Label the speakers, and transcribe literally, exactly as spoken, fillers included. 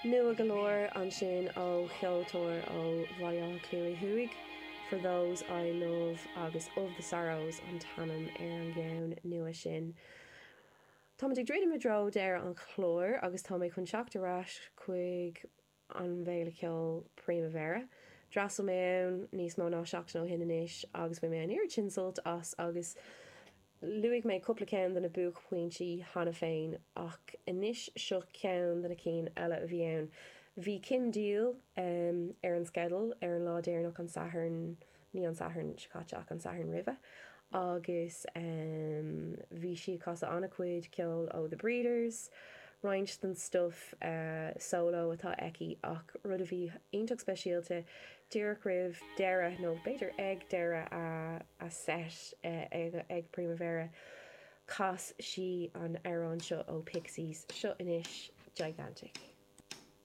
Speaker 1: Nua go leor ansin ó cheoltóir ó Bhaile Átha Cliath Thuaidh, For Those I Love agus Of the Sorrows an t-ainm ar an gceann nua sin. Táimid ag druidim i dtreo deireadh an chláir agus tá mé chun teacht ar ais chuig an bhféile ceoil Primavera. D'fhreastail mé ann níos mó ná seachtain ó shin anois agus bhain mé an oiread sin sult as agus luaigh mé cúpla ceann de na buaicphointí cheana féin ach anois seo ceann de na cinn eile a bhí ann. Bhí Kim Deal um, ar an sceideal ar an lá deireanach an Satharn ní an Satharn seo caite ach an Satharn roimhe agus um, bhí sí ag casadh an-chuid ceoil ó The Breeders, roinnt den stuff uh, solo atá aici ach rud a bhí iontach speisialta díreach roimh deireadh nó b'fhéidir ag deireadh a, a set uh, ag, ag Primavera chas sí an amhrán seo ó Pixies seo anois Gigantic.